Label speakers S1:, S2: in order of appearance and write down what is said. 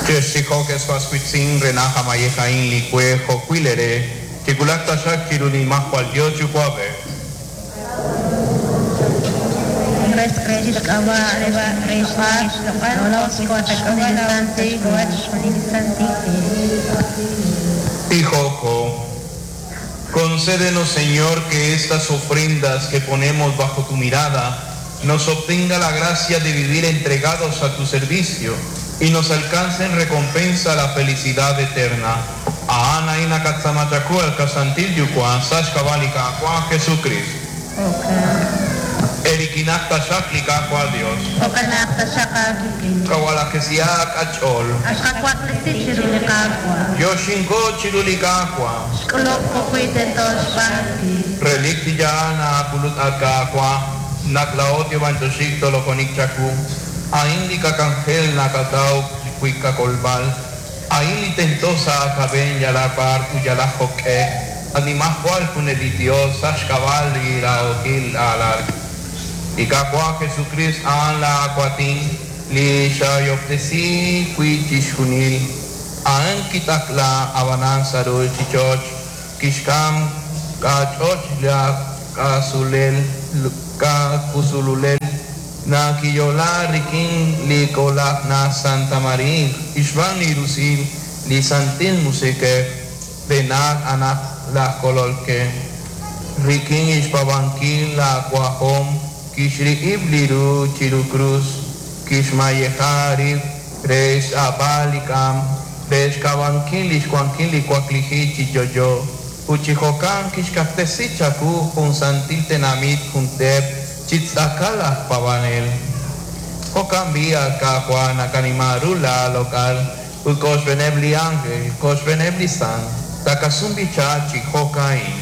S1: Chextijoq ex was wiitz'in re naq a mayej a'in li we jo'wi' leere chiwulaq taxaq chiru li Nimajwal Yos Yuwa'b'ej. Tijoco, concédenos, Señor, que estas ofrendas que ponemos bajo tu mirada nos obtenga la gracia de vivir entregados a tu servicio y nos alcance en recompensa la felicidad eterna. A Ana ina katzamachaku el kasantil yukua, sashkabalika, Juan Jesucristo. Erikinakta shaklika Juan Dios. Kawalakesiak achol. Yoshinko chirulikakwa. Relikti yana kulut akakwa. Naklaot yobantoshik tolokonik chaku. Ain kakangel nakatau kuikakolbal. Ain tentosa akaben yalapar uyalajoke. Animajual kunelitio sashkabal iraokil alal. Ikakwa Jesucristo an la aquatin li shayoptesi kuichishunil. An kitakla abanan sarul chichoch kishkam kachoch la kasulel kakusululel na kiyola rikin li kola na Santa María Ishvan irusil li santil musike denak anak la kololke rikin ishpabankin la cuajom kishri ibliru chiru cruz kishmayehari resh abalikam resh kabankin lishkuankin likuakliji chiyoyo uchijokan kishkaftesi chaku junsantil tenamit juntep chitzakala pavanel Jokan vía kajuana kanimarula local ukosh benebli ángel kosh benebli san takasumbi chachi jokain.